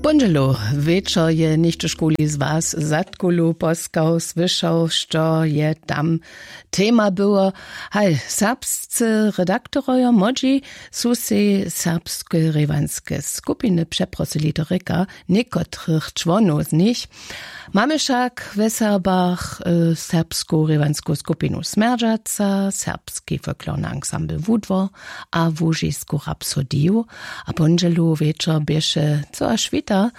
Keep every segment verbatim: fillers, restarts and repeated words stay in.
Póndźelu wječor je něchtó škuli z was zadkulu poskał słyšał što je tam tema było. Haj, serbscy redaktorojo młodźi su sej serbske rěwanske skupiny přeprosili to rěka někotrych čłonow z nich. Mamy wšak we serbach serbsku rěwansku skupinu smjerdźaca serbski folklorny ansambl wudwor a łužisku rapsodiju. A póndźelu wječor běše co a šwita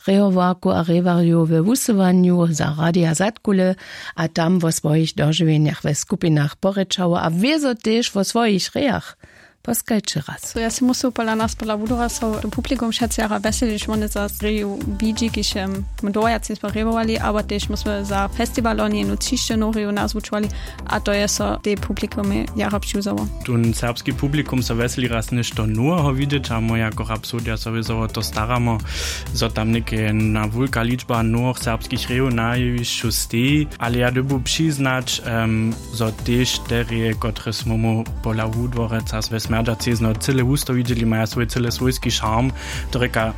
rejowarku a rejowarjow we wusyłanju za radia zadkule a tam wo swojich dožiwjenjach we skupinach porěčało a wězo tež wo swojich rejach. Poskajće raz. Ja si musu pola nas pola wudora so to publikum wšetcy jara wjeselić wone za reju bidźi kiž my dowajac nismo rejowali abo tež musmy za festiwal loni jednu třišćenu reju nazwučowali. A to je so tej publikumej jara přiwzało. Tón serbski publikum so wjeseli raz něšto noweho widźeć a my jako rapsodija so wězo wo to staramo, zo tam něke jedna wulka ličba nowych serbskich rejow na jewišću steji. Ale ja dyrbju přiznać, zo tež te reje kotrež smy mu pola wudworeca we smjerdźacej zno cyle wusto widźeli maja swój cyle swójski šarm. To rěka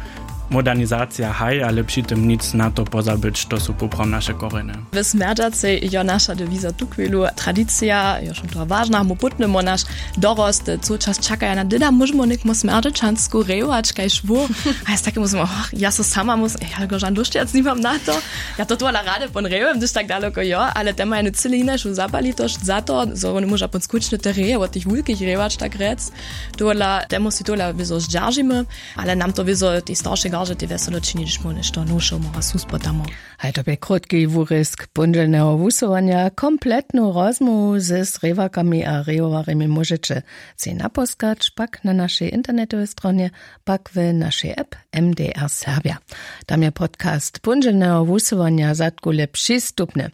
modernizacija haj ale při tym nic na to pozabyć to su poprawom naše korjenje. W smjerdźacej jo naša dewiza tuchwilu tradicija jo šum toho wažna mu pótnymo naš dorost. Cołčas čakaja na dyda móžemo někmo smjerdźaćansku rejować kaž wó. A ja z takim móžemo ja so sama mus ja go žan dóšćac nimam na to. Ja to tola rady pon rejowym hdyž tak daloko jo ale te maja jenu cyle hinašu zapalitosć za to zo wóny móža pon skutčny te reje wot tych wulkich rejować tak rjec. Tola te musi tola wězo zdźeržimy. Ale nam to wězo tej staršej garže tej wjeselo čini hdyž móžeš to nowšeho mora suspotamo. Haj to bě krótki wurězk póndźelneho wusyłanja kompletnu rozmołwu ze srěwakami a rejowarjemi móžeće sej naposkać pak na našej internetowej stronje, pak w našej app. M D R serbja. Tam je podcast póndźelneho wusyłanja zadkule přistupny.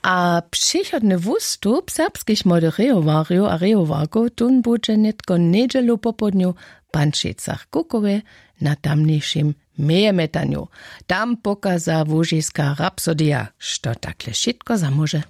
A přichodny wustup serbskich młodych rejowarjow a rejowarkow tón budźe nětko njedźelu popołdnju w pančicach kukowej na tamnišim mejemjetanju. Tam pokaza łužiska rapsodija što takle wšitko zamóže.